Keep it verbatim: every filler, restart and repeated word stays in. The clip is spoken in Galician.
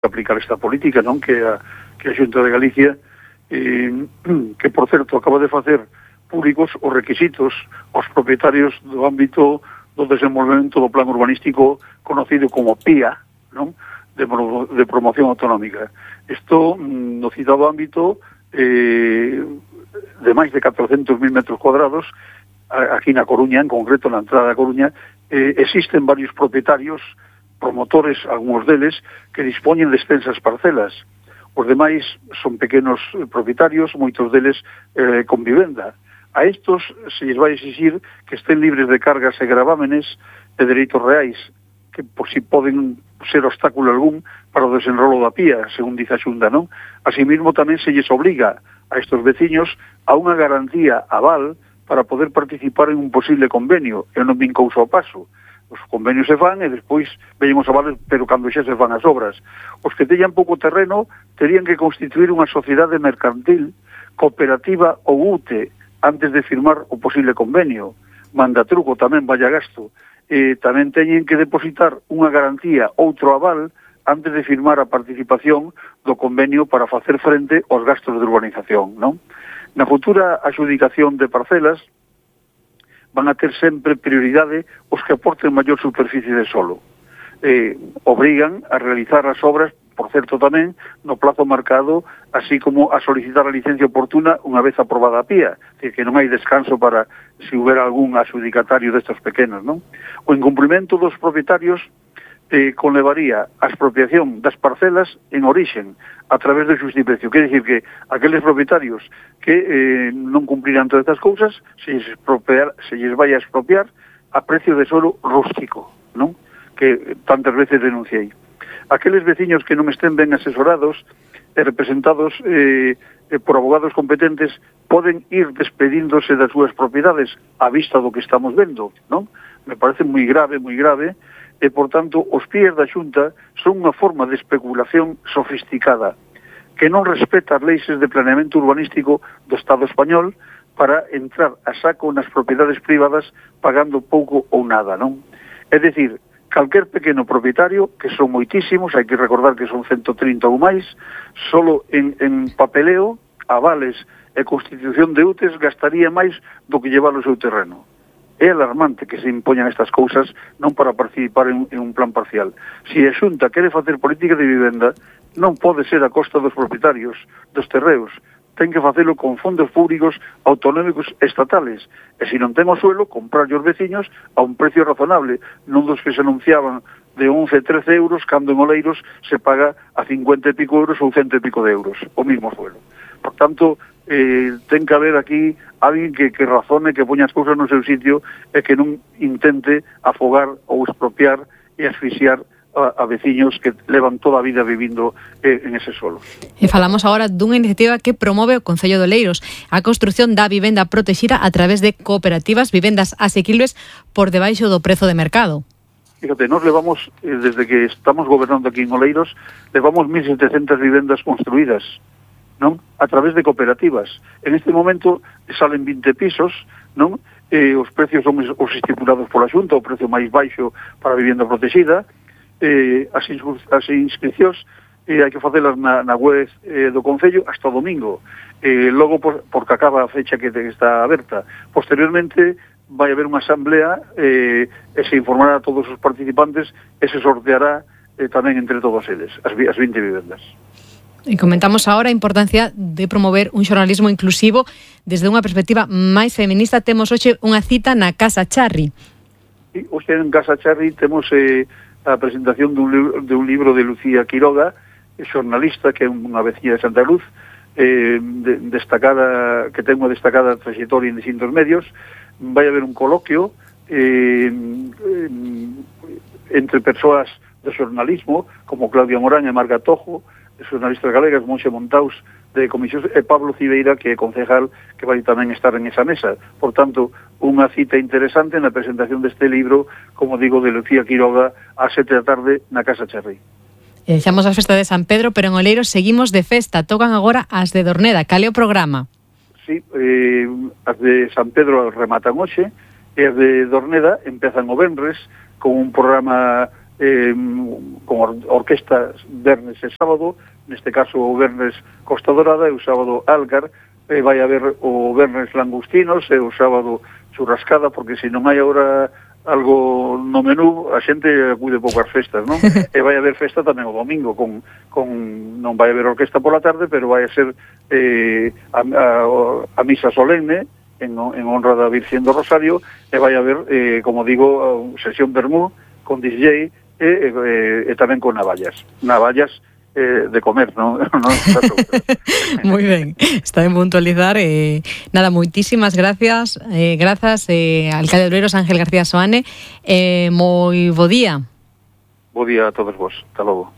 aplicar esta política, non? Que a, que a Xunta de Galicia, eh, que por certo acaba de facer públicos os requisitos aos propietarios do ámbito do desenvolvemento do plan urbanístico conocido como P I A, non? De, de promoción autonómica. Isto, no citado ámbito, eh, de máis de catrocentos mil metros cuadrados, aquí na Coruña, en concreto na entrada da Coruña, eh, existen varios propietarios, promotores, algúns deles, que dispoñen de extensas parcelas. Os demais son pequenos propietarios, moitos deles eh, con vivenda. A estos se lles vai exixir que estén libres de cargas e gravámenes de dereitos reais, que por si poden ser obstáculo algún para o desenrolo da P I A, según dice a Xunta, non? Asimismo, tamén se lles obliga a estos veciños a unha garantía aval para poder participar en un posible convenio, e non vin cousa ao paso. Os convenios se fan e despois veñen os avales, pero cando xa se fan as obras. Os que teñan pouco terreno terían que constituir unha sociedade mercantil, cooperativa ou U T E antes de firmar o posible convenio. Manda truco tamén, vaya gasto. E tamén teñen que depositar unha garantía, outro aval, antes de firmar a participación do convenio para facer frente aos gastos de urbanización, non? Na futura adjudicación de parcelas van a ter sempre prioridade os que aporten maior superficie de solo. Eh, obrigan a realizar as obras, por certo tamén, no plazo marcado, así como a solicitar a licencia oportuna unha vez aprobada a P I A, que non hai descanso para se houbera algún adjudicatario destes pequenos, non? O incumprimento dos propietarios eh, conlevaría a expropiación das parcelas en orixen, a través do xustiprecio. Quer dicir que aqueles propietarios que eh, non cumpriran todas estas cousas, se lles, expropiar, se lles vai a expropiar a precio de solo rústico, non? Que tantas veces denunciei. Aqueles veciños que non estén ben asesorados e representados eh, eh, por abogados competentes poden ir despedíndose das súas propiedades a vista do que estamos vendo, non? Me parece moi grave, moi grave, e, por tanto, os pies da Xunta son unha forma de especulación sofisticada que non respeta as leis de planeamento urbanístico do Estado español para entrar a saco nas propiedades privadas pagando pouco ou nada, non? É dicir, calquer pequeno propietario, que son moitísimos, hai que recordar que son ciento trinta ou máis, solo en, en papeleo, avales e constitución de U T E S gastaría máis do que llevar o seu terreno. É alarmante que se impoñan estas cousas non para participar en, en un plan parcial. Se a Xunta quere facer política de vivenda, non pode ser a costa dos propietarios, dos terreos. Ten que facelo con fondos públicos autonómicos estatales. E se non ten o suelo, comprar os veciños a un precio razonable, non dos que se anunciaban de once, trece euros, cando en Oleiros se paga a cincuenta e pico euros ou cento e pico de euros, o mismo suelo. Por tanto, eh, ten que haber aquí alguén que, que razone, que poña as cousas no seu sitio e que non intente afogar ou expropiar e asfixiar a, a veciños que levan toda a vida vivindo eh, en ese solo. E falamos agora dunha iniciativa que promove o Concello de Oleiros, a construción da vivenda protexida a través de cooperativas, vivendas asequibles por debaixo do prezo de mercado. Fíjate, nos levamos, eh, desde que estamos gobernando aquí en Oleiros, levamos mil setecientas vivendas construídas, non? A través de cooperativas. En este momento salen vinte pisos, non? Eh, os precios son os estipulados pola Xunta, o precio máis baixo para a vivenda protegida. Eh, as, as inscripcións eh, hai que facelas na, na web eh, do Concello hasta o domingo. Eh, logo, por, porque acaba a fecha que está aberta. Posteriormente, vai haber unha asamblea eh, e se informará a todos os participantes e se sorteará eh, tamén entre todos eles, as, as vinte vivendas. E comentamos agora a importancia de promover un xornalismo inclusivo desde unha perspectiva máis feminista. Temos hoxe unha cita na Casa Charri. Sí, hoxe en Casa Charri temos eh, a presentación dun, libro, de un libro de Lucía Quiroga, xornalista, que é unha veciña de Santa Luz, eh, de, destacada, que ten unha destacada trayectoria en distintos medios. Vai haber un coloquio eh, entre persoas do xornalismo, como Claudia Morán e Marga Tojo, xornalistas galegas, Monxe Montaus, de Comisión, e Pablo Cibeira, que é concejal, que vai tamén estar en esa mesa. Por tanto, unha cita interesante na presentación deste libro, como digo, de Lucía Quiroga, a sete da tarde na Casa Charri. E deixamos a festa de San Pedro, pero en Oleiros seguimos de festa. Tocan agora as de Dorneda. Cal é o programa? Sí, eh, as de San Pedro rematan hoxe, e as de Dorneda empezan o venres con un programa eh, con or orquesta vernes e sábado, neste caso o vernes Costa Dorada e o sábado Algar, e vai haber o vernes Langostinos e o sábado Churrascada, porque se non hai agora algo no menú, a xente acude pouco ás festas, non? E vai haber festa tamén o domingo, con, con non vai haber orquesta pola tarde, pero vai a ser eh, a, a, a misa solemne en, en honra da Virgen do Rosario, e vai haber, eh, como digo, sesión vermú con D J e, e, e tamén con navallas. Navallas Eh, de comer, non? non Moi ben, está ben puntualizar. Eh, nada, moitísimas gracias, eh, grazas, eh, alcalde de Oleiros, Ángel García Soane, eh, moi bo día. Bo día a todos vos, hasta logo.